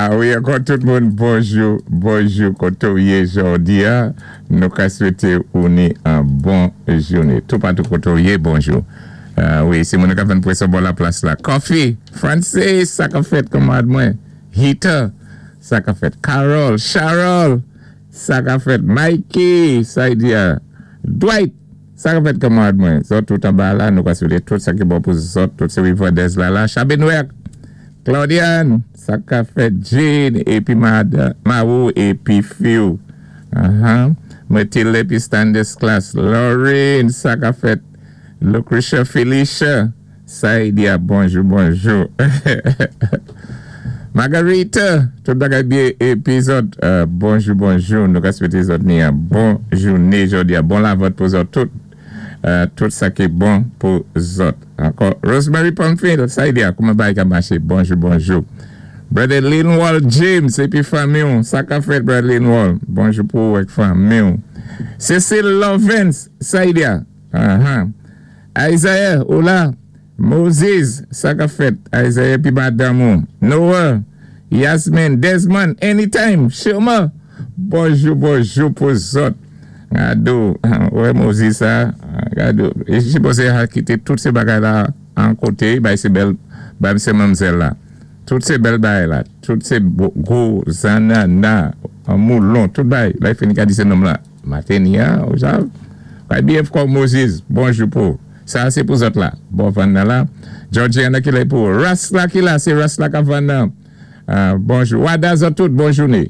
A wi, ankò tout moun, bonjou, bonjou, koté ou yé jòdi-a, nou ka swété ou ni an bon jouné. Toupatou koté ou yé, bonjou. Wi, sé moun k ap vann pwéson bò laplas la. Coffee, Francis, sa k ap fèt, kanmarad mwen? Hita, sa k ap fèt? Carol, Charol, sa k ap fèt? Mikey, sa y di a? Dwight, sa k ap fèt, kanmarad mwen? Zòt tout anba la, nou ka swété tout sa ki bon pou zòt, tout sé Rivandèz la la. Chabenwèk, Claudiane, sa k ap fèt? Jane, épi Marou, épi Fiw. Mathilde, épi Stanislas. Lorraine, sa k ap fèt? Lucretia Felicia, sa y di a? Bonjou, bonjou. Margarita, tout bagay byen, épi zòt, bonjou, bonjou. Nou ka swété zòt ni an bon jouné jòdi a, bon lavant pou zòt tout, tout sa ki bon pou zòt. Ankò, Rosemary Pamphile, sa y di a, kouman bagay ka maché? Bonjou, bonjou. Brother Linwall James, épi fanmi ou, sa k ap fèt, Brother Linwall? Bonjou pou ou ak fanmi ou. Cecile Lovens, sa y di a? Isaiah, hola. Moses, sa k ap fèt? Isaiah épi madanm ou. Noah, Yasmin, Desmond, anytime, Shirma. Bonjou, bonjou pou zòt. Gado, wè Moses sa, gado. E si a kité tout sé bagay la an koté, bay sé bèl, bay sé manmzèl la. Tout sé bèl bagay la, tout sé gwo zanana, moulon, tout bagay. La, fini ka di sé nonm la. Matenia, ou sav? Bay byen fò, Moses, bonjou pou. Sa sé pou zòt la. Bon vann nan la. Georgiana ki la pou. Ras la ki la, sé ras la k ap vann nan. Bonjou. Wada zòt tout, bon jouné.